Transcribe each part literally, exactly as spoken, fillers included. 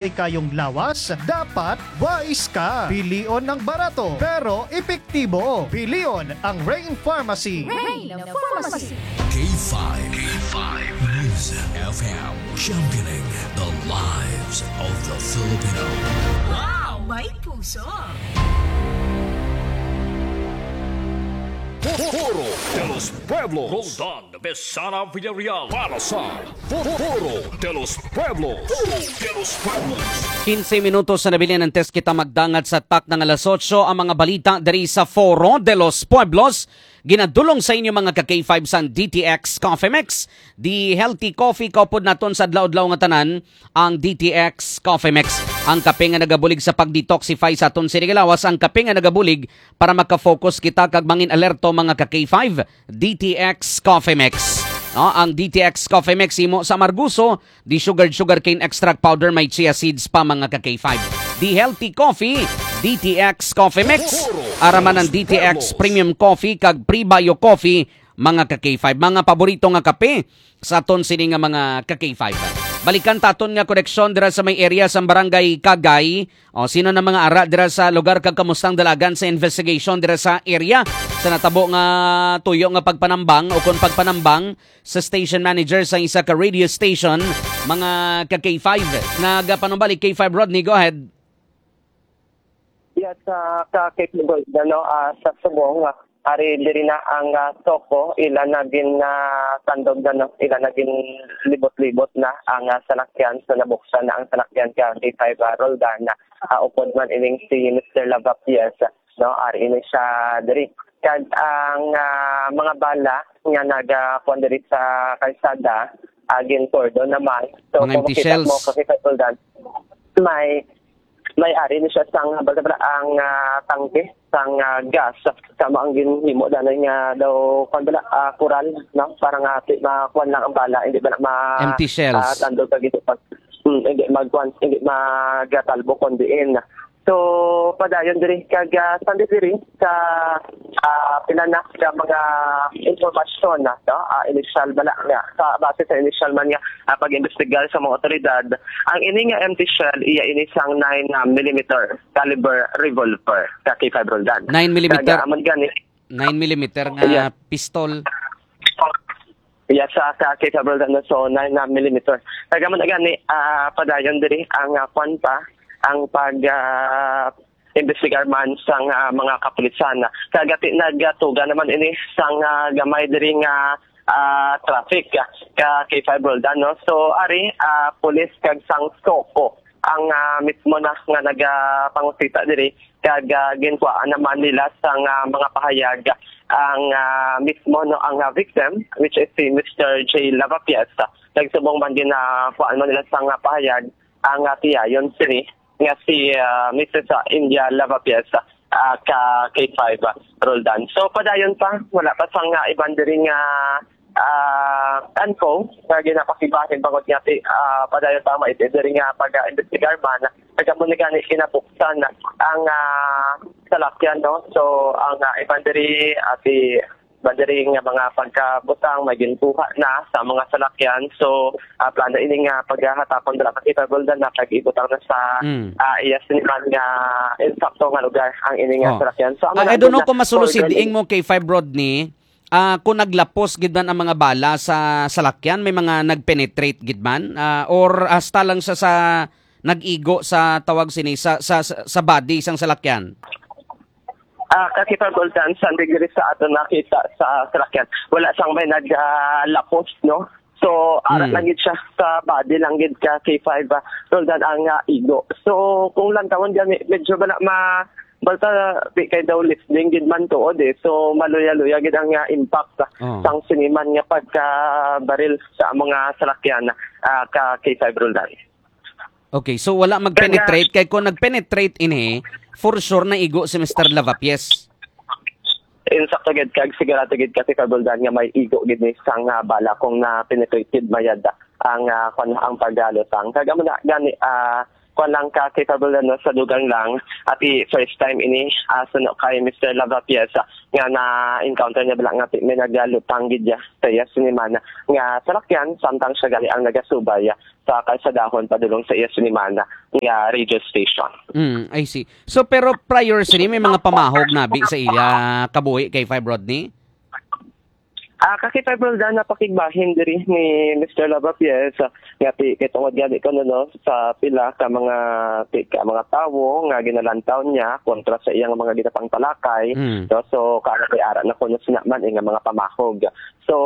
kayong lawas, dapat wais ka. Pilion ang barato, pero epektibo. Pilion ang Rain Pharmacy. Rain Pharmacy. K five. K five News F M, championing the lives of the Filipino. Wow, may puso! Foro de los Pueblos. Roldan Besana Villarreal para sa Foro de los Pueblos. Foro de los Pueblos. Quince minutos na nabilin antes kita magdangat sa takna nga alas otso, ang mga balita diri sa Foro de los Pueblos. Ginadulong sa inyo, mga ka K five, sang D T X Coffee Mix. The healthy coffee kaupod naton sa adlaw-adlaw nga tanan, ang D T X Coffee Mix. Ang kape nga nagabulig sa pag-detoxify sa aton sining lawas, ang kape nga nagabulig para maka-focus kita kag mangin alerto, mga ka K five. D T X Coffee Mix. No, ang D T X Coffee Mix himo sa Amargoso, the sugared sugarcane extract powder, may chia seeds pa, mga ka K five. The healthy coffee, D T X Coffee Mix. Ara man ang D T X Premium Coffee kag Prebio Coffee, mga ka K five. Mga paborito nga kape sa aton sini nga mga ka K five. Balikan ta aton nga koneksyon dira sa may area sa Barangay Kagay. O, sino na mga ara dira sa lugar kag kamusta ang dalagan sa investigation dira sa area sa natabo nga tuyo nga pagpanambang o kon pagpanambang sa station manager sa isa ka radio station, mga ka K five? Nagapanumbalik K five Rodney, go ahead. Yes, ah, ka K five Gold, ano, ah, sa subong, ah, ari diri na ang, ah, SOCO, ila na gin, ah, tandog na, no? Ila na gin libot-libot na ang, ah, salakyan. So, nabuksan na ang salakyan ka K five, ah, Roldan, ah, upod man ining si Mister Lavapies, no? Ari ini siya diri. Kag ang, ah, mga bala nga naga, kuwan diri sa kalsada, ah, gin-cordon naman. So, Mga kung empty makita shells. mo, ka K five Roldan, may may ari ni siya sang, bala, bala, ang, ah, tangke sang, ah, gas. Sama ang ginhimo danay nga daw, kwan bala, ah, kural, no? Para nga ti-, ma-, kwan lang ang bala, hindi bala ma-, Empty shells. ah, tandog kag ito pag, mm, hindi magkwan, hindi magatalbo kon diin. So, padayon diri kag, ah, sandi diri sa, ah, pila na ka mga impormasyon na, no? Ah, initial bala nga, sa, base sa initial man nga, ah, pag-imbestigar sa mga otoridad, ang ini nga empty shell, iya ini sang nine, ah, millimeter caliber revolver, ka K five Roldan. Nine millimeter? Kag, ah, amon gani, Nine millimeter nga Yes. pistol? Yes, sa, sa K five Roldan, so nine, ah, millimeter. Kag amon gani, ah, padayon diri ang, ah, kwan pa, ang pag, ah, imbestigar man sang, ah, mga kapulisan. Kag ati nagatuga naman ini sang, ah, gamay diri nga, ah, traffic, ah, ka K five Roldan, no? So, ari, ah, pulis kag sang SOCO ang, ah, mismo na nga nagapangusita diri, kag, ah, ginkuhaan naman nila sang, ah, mga pahayag ang, ah, mismo, no, ang, ah, victim, which is si Mister J Lavapies. Nagsubong man gin, ah, kuhaan man nila sang, ah, pahayag ang, ah, tiyayon sini nga si, ah, Missus, ah, India Lavapies, ah, ka K five, ah, Roldan. So, padayon pa, wala pa sang, ah, iban diri nga, ah, info nga ginapakibahin bangod nga ti-, ah, padayon pa maiti diri nga pag-imbestigar man. Nagkamo ni gani kinabuksan ang, ah, salakyan, no? So, ang, ah, iban diri, ah, ti-, iban diri nga mga pagkabutang may ginkuha na sa mga salakyan. So, ah, plano ini nga paghatapon dira ka K five Roldan na pag-ibutang na sa, Mm. ah, iya siniman nga insakto nga lugar ang ini nga Oh. salakyan. So, amo Ah, na I don't ang know kung masulusid order ni ing mo, K five Rodney, ah, kung naglapos gid man ang mga bala sa salakyan, may mga nag-penetrate gid man, ah, or hasta lang sa, sa nag-igo sa tawag sini, sa, sa, sa, sa body sang salakyan? Ah, ka K five Roldan, sa degree sa ato nakita sa salakyan, wala sang may nag, ah, lapos, no? So, ara Mm. lang gid siya sa body lang gid ka K five, ah, Roldan ang, ah, igo. So, kung lantawon gani, medyo bala ma-, balta di kay daw lifting gid man tuod eh. So, maluya-luya gid ang, ah, impact, ah, Oh. sang siniman nga pagkabaril sa mga salakyan, ah, ka K five Roldan. Okay, so wala mag-penetrate, kay kung nag-penetrate ini, for sure naigo si Mister Lavapies. Insakto gid kag sigurado gid ka K five Roldan nga may igo gid ni sang, ah, bala kung na-penetrate gid mayad ang, ah, kwan, ang pagalutang. Kag amo na gani, ah, Kwan lang ka, K five Roldan, no, sa dugang lang, ati first time ini, ah, suno kay Mister Lavapies, ah, nga na-encounter niya bala nga ti-, may nagalutang gid niya sa iya sinimana nga salakyan, samtang siya gali ang nagasubay, ah, sa kalsadahon padulong sa iya sinimana nga radio station. Mm, I see. So, pero prior sini, may mga pamahog nabi sa iya kabuhi, K five Rodney? Ah, ka K five Roldan, napakigbahin diri ni Mister Lavapies, ah, nga ti-, kay tungod gani kuno, no, sa pila ka mga ti-, ka mga tawo nga ginalantaw niya kontra sa iyang mga ginapangtalakay, Mm. no, so, kaya kay ara na kuno sina man, eh, nga mga pamahog. So,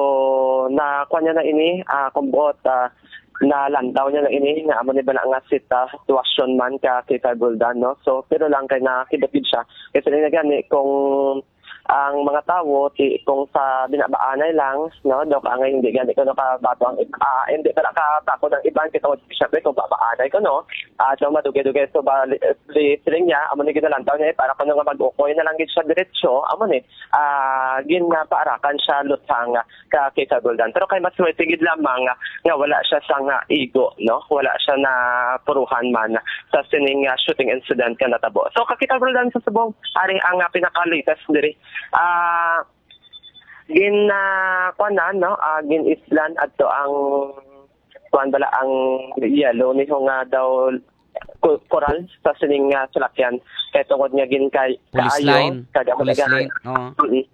na, kuwan niya na ini, ah, kung buot, ah, nalantaw niya na ini, nga amo ni bala nga sita-, sitwasyon man ka K five Roldan, no? So, pero lang kay nakakibot gid siya. Kasi na gani, kung ang mga tawo, ti-, kung sa binabaanay lang, no, Doc, ang hindi gani ko nakabato ang ib-, ah, hindi pala katakod ang iban, kay tungod, syempre, kung babaanay ko, no, at nung madugay-dugay, so, bali, li-, siling niya, amo ni ginalantaw niya, eh, para kuno nga mag-ukoy na lang gid siya diretso, amo ni, ah, ginapaarakan siya lutang ka K five Roldan. Pero kay mas masigid lamang nga, nga wala siya sang igo, no? Wala siya na puruhan man sa sining, ah, shooting incident nga natabo. So, ka K five Roldan, sa subong, ari ang, ah, pinaka-latest diri. Ah, gin, ah, kuwan na, no? Ah, gin-islan adto ang, kuwan bala, ang yellow ni nga daw ku-, koral sa sining, ah, salakyan. Kay tungod nga gin kay Police kaayo, line. Kag amo Police na line. Oo. Mm.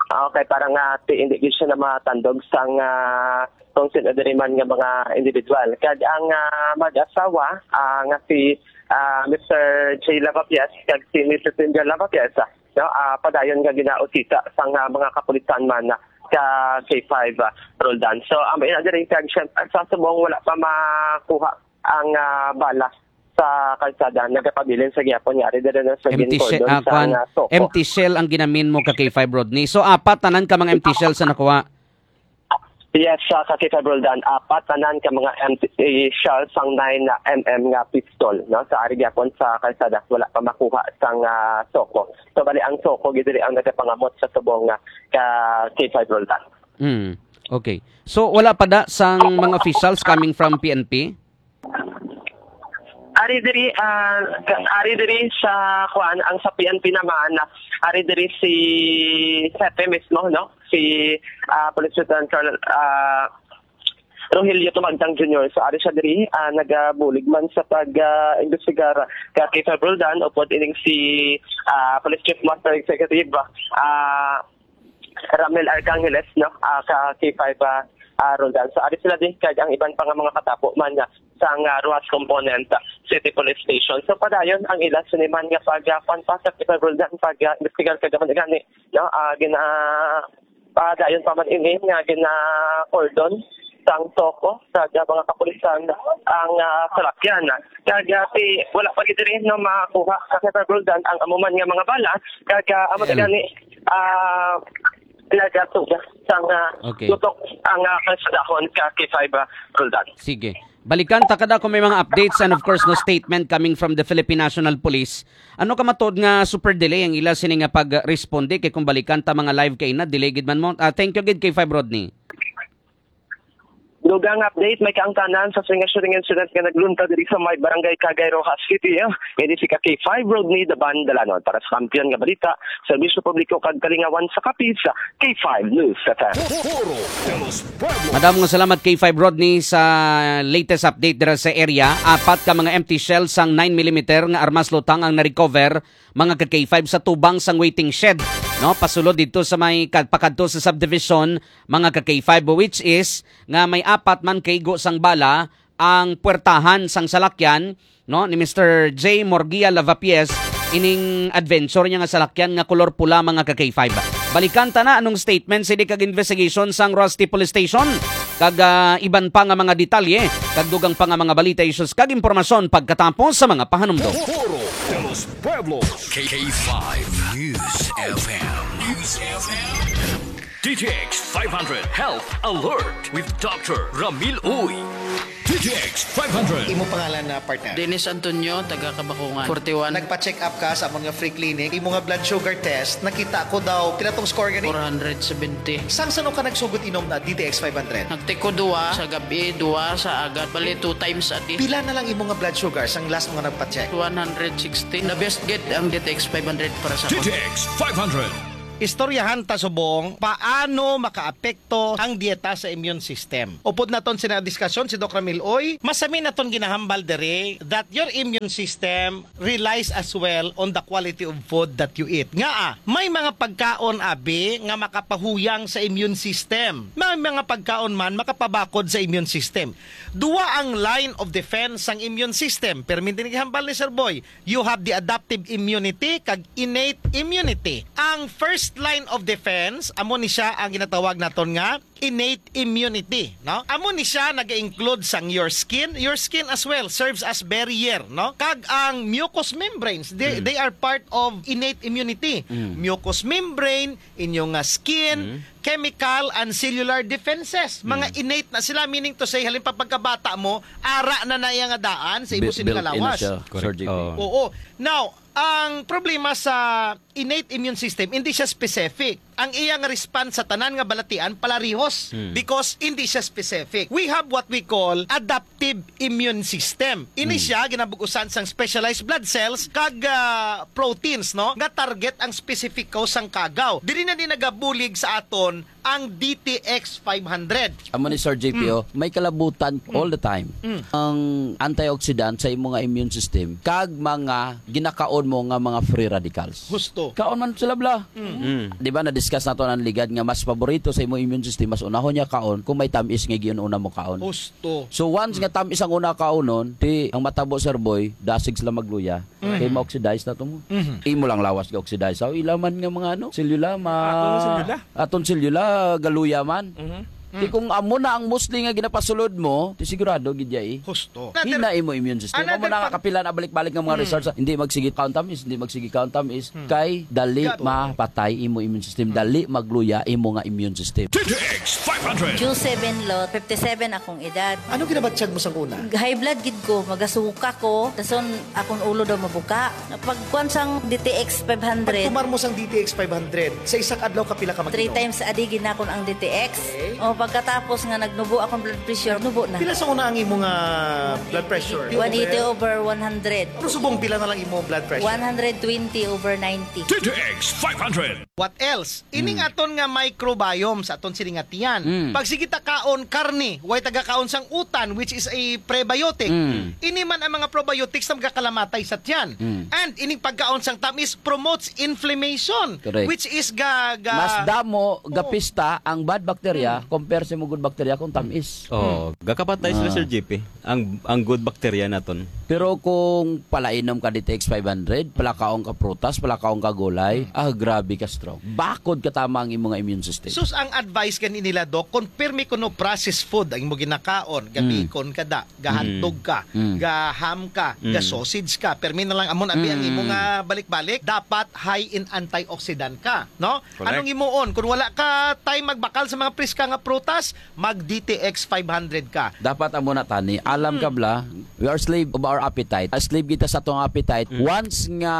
Okay, para nga ti-, hindi gid siya na matandog sang, ah, kung sino diri man nga mga individual. Kag ang, ah, mag-asawa, ah, nga si, ah, Mister J Lavapias kag si Missus Linda Lavapias, ah, no, ah, padayon nga ginausisa sang, ah, mga kapulisan man, ah, ka K five, ah, Roldan. So, ang ina diri kag siyempre, sa subong wala pa makuha ang, ah, bala sa kalsada, nagapabilin sa gihapon nga ari diri na sa Empty shell, ginkordon ah, sa kwan, nga Soco. Empty shell ang ginamin mo ka K five, Rodney. So, apat tanan ka mga empty shell sa nakuha? Yes, sa ka K five Roldan, apat tanan ka mga empty shell sang nine M M nga pistol, no? Sa ari gihapon sa kalsada, wala pa makuha sang, ah, Soco. So, bali ang Soco gid diri ang nagapangamot sa subong nga ka K five Roldan. Mm. Okay. So, wala pa da sang mga officials coming from P N P? Ari diri, ah, ka-, ari diri sa, kuan, ang sa P N P naman, ari diri si Sepe mismo, no? Si, ah, Police Lieutenant Colonel, ah, Rogelio Tumagtang Junior. So, ari siya diri, ah, nagabulig man sa pag, ah, imbestigar ka K five Roldan, upod ining si, ah, Police Chief Master Executive, ah, Ramil Arcangeles, no, ah, ka K five, ah, ah, Roldan. So, ari sila di, kag ang iban pa nga mga katapo man nga sang, ah, Roxas Component, ah, City Police Station. So, padayon ang ila sini man nga pag, ah, kuwan pa sa K five Roldan, pag, ah, imbestigar kag amo na gani, no, ah, gina-, padayon pa man ini nga gina-cordon sang Soco sa mga kapulisan ang, ah, salakyan. Kag, ah, ti-, wala pa gid diri, no, makuha sa K five Roldan ang amo man nga mga bala, kag, ah, amo Well, gani, ah, nagatuga sang, ah, okay, tutok ang, ah, kalsadahon ka K five, ah, Roldan. Sige. Balikan ta kada kung may mga updates and of course, no, statement coming from the Philippine National Police. Ano ka matod nga super delay ang ila sini nga pagresponde kay kung balikan ta mga live kay na delay gid man mo. Ah, thank you gid K five Rodney. Dugang update, may kaangtanan sa singa shooting incident nga naglunta diri sa may barangay Cagay, Roxas City, eh. Ini si ka K five Rodney Daban Dalanon para sa Kampiyon nga Balita, Serbisyo Publiko kag Kalingawan sa Capiz, K five News F M. Puro de los Pueblos. Madamo nga salamat K five Rodney sa latest update dira sa area. Apat ka mga empty shell sang nine millimeter nga armas lutang ang na-recover, mga ka K five, sa tubang sang waiting shed, no? Pasulod dito sa may kad-, pakadto sa subdivision, mga ka K five, which is nga may apat man kaigo sang bala ang puwertahan sang salakyan, no, ni Mister J Morgia Lavapies, ining adventure niya nga salakyan nga kolor pula, mga ka K five. Balikan ta na anong statement sini kag investigation sang Roxas City Police Station, kag, ah, iban pa nga mga detalye, kag dugang pa nga mga balita, issues, kag impormasyon pagkatapos sa mga pahanumdom. Puro de los Pueblos. K five News F M. News F M. D T X five hundred Health Alert with Doctor Ramil Uy. D T X five hundred. Imo pangalan na, partner? Dennis Antonio, taga Kabakungan, forty-one. Nagpa-check up ka sa amon nga free clinic. Imo nga blood sugar test, nakita ko daw, pila tong score gani? Four hundred seventy. Sang sano ka nagsugod inom na D T X five hundred? Nagtiko duwa sa gabi, duwa sa agad. Bali, two times a day. Pila na lang imo nga blood sugar sang last mo nga nagpa-check? One hundred sixty. The best gid ang D T X five hundred para sa D T X five hundred. Istoryahan ta subong paano makaapekto ang dieta sa immune system. Upod naton sina diskasyon si Doc Ramil Uy, masami naton ginahambal diri that your immune system relies as well on the quality of food that you eat. Nga ah, may mga pagkaon abi nga makapahuyang sa immune system. May mga pagkaon man makapabakod sa immune system. Duwa ang line of defense sang immune system. Permi din gihambal ni Sir Boy, you have the adaptive immunity kag innate immunity. Ang first line of defense, amo ni siya ang ginatawag naton nga innate immunity, no? Amo ni siya naga-include sang your skin. Your skin as well serves as barrier, no? Kag ang mucous membranes, they, Mm. they are part of innate immunity. Mm. Mucous membrane, inyo nga skin, Mm. chemical and cellular defenses. Mga Mm. innate na sila, meaning to say, halin pa pagkabata mo, ara na na iya nga daan sa imo Bi-, built in na sining lawas. Siya, Sir Correct. J P. Oo. Oo. Now, ang problema sa innate immune system, hindi siya specific. Ang iyang response sa tanan nga balatian palarihos Hmm. because hindi siya specific. We have what we call adaptive immune system. Ini Hmm. siya ginabug-usan sang specialized blood cells kag, ah, proteins, no, nga target ang specific cause sang kagaw. Diri na ni nagabulig sa aton ang D T X five hundred. Amo ni Sir J P, Mm. oh, may kalabutan Mm. all the time. Mm. Ang antioxidant sa imo nga immune system kag mga ginakaon mo nga mga free radicals. Husto. Kaon man sila, bla. Mm. Mm. Di ba, na-discuss nato ang ligad nga mas paborito sa imo immune system, mas unahon niya kaon kung may tamis nga giun-una mo kaon. Husto. So, once nga tamis ang una kaunon, ti ang matabo, Sir Boy, dasig sila magluya. Mm. Kay ma-oxidize na to mo. Mhm. Imo lang lawas ga-oxidize. So, ila man nga mga ano, selula, ma-, Aton nga selula. Aton selula, galuya man. Mhm. Di Mm. kung amo na ang mostly nga ginapasulod mo, ti sigurado gid ya eh. Husto. Hina imo immune system. Another Amo na nga pag- kapila na balik-balik nga mga Mm. research, hindi magsige kaon tamis, hindi magsige kaon tamis, Mm. kay dali Gato. mapatay imo immune system, Mm. dali magluya imo nga immune system. D T X five hundred. June seven, Lot, fifty-seven akong edad. Ano ginabatyag mo sang una? High blood gid ko, magasuka ko, dason akong ulo daw mabuka. Pagkuan sang D T X five hundred. Pagtumar mo sang D T X five hundred, sa isa ka adlaw kapila ka Three mag-inom? times a day ginakon ang D T X. Okay. O, pagkatapos nga nagnubo akong blood pressure, nubo na. Pila sa una ang imo nga blood pressure? One eighty over one hundred. Pero subong pila na lang imo blood pressure? One hundred twenty over ninety. D T X five hundred. What else? Ining Mm. aton nga microbiome sa aton sini nga tiyan. Mm. Pag sige ta kaon karne, way taga kaon sang utan, which is a prebiotic. Mm. Ini man ang mga probiotics na magakalamatay sa tiyan. Mm. And ining pagkaon sang tamis promotes inflammation, Correct. which is ga, ga Mas damo, Oo. gapista ang bad bacteria Mm. compare sa mga good bacteria kung tamis. Oh, Mm. gakapatay sila, Ah. Sir J P. Ang, ang good bacteria naton. Pero kung palainom ka D T X five hundred, palakaon ka prutas, palakaon ka gulay, Mm. ah, grabe ka strong. Bakod ka tama ang imo nga immune system. Sus, ang advice gani nila, Doc, kung pirmi kuno processed food ang imo ginakaon, Mm. gabikon ka da, gahandog Mm. ka, Mm. gaham ka, Mm. gasausage ka, pirmi na lang amon abi ang Mm. imo nga balik-balik, dapat high in antioxidant ka, no? Correct. Anong imuon? Kung wala ka time magbakal sa mga priska nga prutas, mag D T X five hundred ka. Dapat amo na tani. Alam ka, Mm. bla, we are slave of our appetite. A slave kita sa atong appetite. Mm. Once nga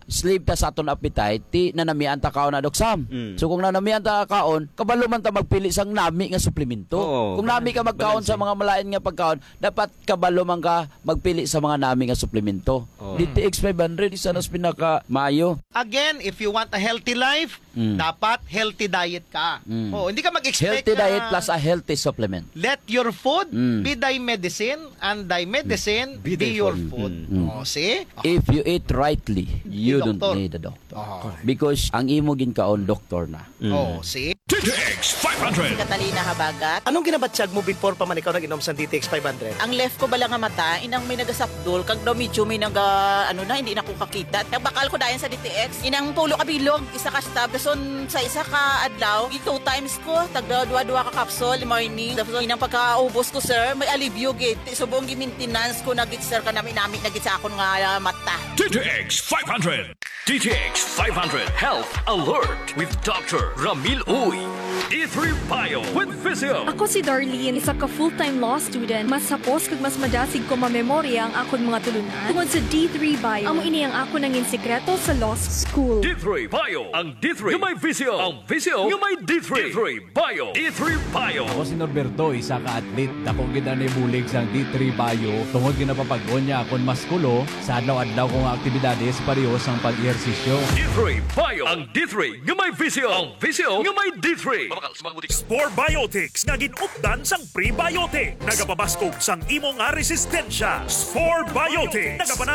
slave ta sa atong appetite, ti nanamian ta kaon na, Doc Sam. Mm. So kung nanamian ta kaon, kabalo man ta magpili sang nami nga suplemento. Oo, Kung nami ka magkaon balanse. sa mga malain nga pagkaon, dapat kabalo man ka magpili sa mga nami nga suplemento. Oo. D T X five hundred, isa na sa pinaka maayo. Again, if you want a healthy life, Mm. dapat healthy diet ka. Mm. Oh, hindi ka mag-expect Healthy na diet plus a healthy supplement. Let your food Mm. be thy medicine and thy medicine Be be, thy your food. food. Mm. Oh, see? If you eat rightly, you Doktor. don't need a doctor. Oh. Because ang imo ginkaon, doktor na. Mm. Oh, see? D T X five hundred. Si Catalina Habagat. Anong ginabatyag mo before pa man ikaw nag-inom sa D T X five hundred? Ang left ko bala nga mata, inang may nagasapdol, kag daw medyo may naga, ano na, hindi na ko kakita. Nagbakal ko dayon sa D T X. Inang pulo ka bilog, isa ka stab. Dason sa isa ka adlaw, gi two times ko, tagda duha-duha ka capsule, morning. Dason inang pagkaubos ko, sir, may alibyo gid. Ti subong gi-maintenance ko na gid, sir, kanami-nami na gid sa akon nga, ah, mata. D T X five hundred. D T X five hundred Health Alert with Doctor Ramil Uy. D three Bio with Visio. Ako si Darlene, isa ka full-time law student. Mas hapos kag mas madasig ko mamemorya ang akon mga tulunan tungod sa D three Bio. Amo ini ang akon nangin sikreto sa law school. D three Bio, ang D three nga may Visio, ang Visio nga may D three. D three Bio. D three Bio. Ako si Norberto, isa ka athlete. Dako gid ang nabulig sang D three Bio tungod ginapapag-on niya akon maskulo sa adlaw-adlaw ko nga aktibidades pareho sang pag-ehersisyo. D three Bio. Ang D three nga may Visio, ang Visio nga may D three. Spore Biotics nga gin-updan sang prebiotic. Nagapabaskog sang imo nga resistensya. Spore Biotics. Nagapanalo